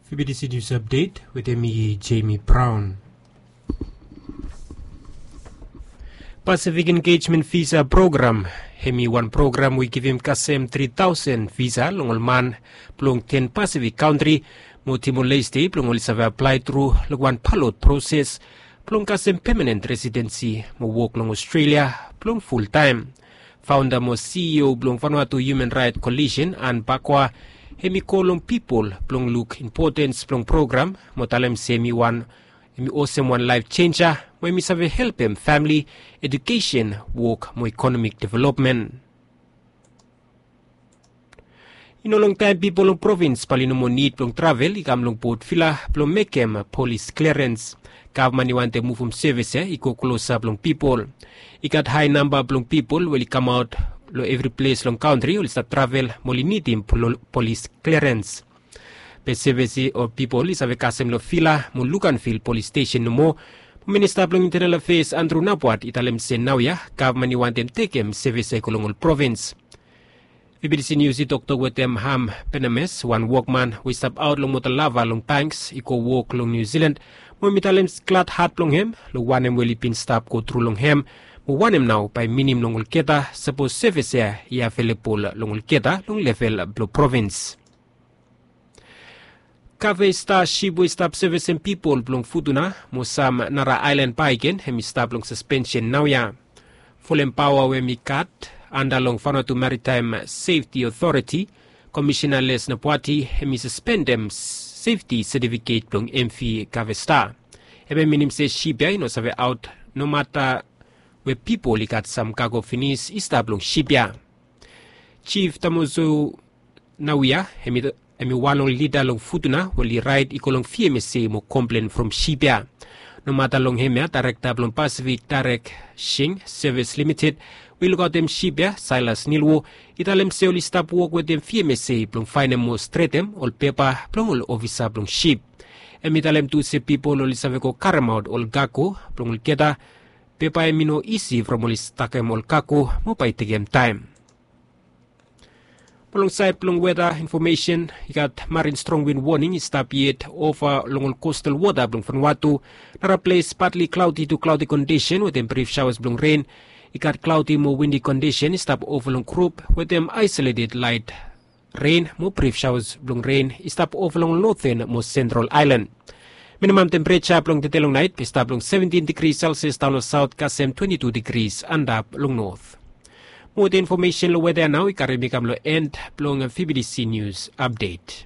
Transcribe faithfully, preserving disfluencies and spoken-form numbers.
Fibidisi News Update wetem mi, Jamie Brown. Pacific Engagement Visa Program, hemi wan program we i givim kasem tri taosen visa long ol man blong ten Pacific kantri mo Timor-Leste blong oli save aplae tru long wan balot proses blong kasem pemanen residensi mo wok long Australia blong fultaem. Faonda mo CEO blong Vanuatu Human Right Coalition, Anne Bakwa, hemi kol long pipol blong luk impotens blong program mo talem se hemi wan, hemi olsem wan laef jenja mo hemi save helpem famili, ejukesen, wok mo ikonomik developmen. I no longtaem pipol long provins bae oli no moa nid blong travel i kam long Port Vila blong mekem polis klerens. Gavman i wantem muvum sevis ya i go klosap long pipol. I gat hae namba blong pipol we oli kamaot long evri ples long kantri oli stap travel mo oli nidim polis klerens. Be sevis ya ol pipol i save kasem long Vila mo Luganville polis stesen nomo. Minista blong Intenal Afeas Andrew Napuat i talem se naoia gavman i wantem tekem sevis ya i go long ol provins. Fibidisi Nius i toktok wetem Ham Penames, wan wokman we i stap aot long Motalava long Banks, i go wok long Niu Silan, mo hemi talem gladhat blong hem long wanem we oli bin stap gotru long hem, mo wanem nao bae i minim long olgeta sapos sevis ya i avelebol long olgeta long level blong provins. Kave Star sip we i stap sevisem pipol blong Futuna mo sam nara aelan bakegen hemi stap long saspensen naoia. Folem paoa we hemi gat anda long Vanuatu Maritaem Sefti Otoriti, Komisena Les Napuati hemi saspendem sefti satifiket blong MV Kave Star. Hemia i minim se sip ya i no save aot nomata we pipol i gat sam kago finis i stap long sip ya. Jif Tamozo Nawia, hemi wan long lida long Futuna we oli raed i go long VMSA mo komplen from sip ya. Nomata long hemia daerekta blong Pasifik Daerek Sing Sevis Limited we i lukaotem sip ya, Sailas Nilwo, i talem se oli stap wok wetem VMSA blong faenem mo stretem ol pepa blong ol ofisa blong sip. Hemi talem tu se pipol oli save go karemaot ol kago blong olgeta, be bae hemi no isi from oli stakem ol kago mo bae i tekem taem. Mo long saed blong weta infomesen, i gat marin strong win woning i stap yet ova long ol kostal wota blong Vanuatu. Nara ples patli klaodi tu klaodi kondisen wetem brif saoas blong ren. I gat klaodi mo windi kondisen i stap ova long grup wetem aesoleted laet ren mo brif saoas blong ren i stap ova long ol noten mo sentral aelan. Minimam tempereja blong tede long naet bae i stap long seventin digri Selsias daon long saot kasem twenti tu digri antap long not. Mo wetem infomesen long weta ya nao i karem mi kam long en blong Fibidisi Nius Apdet.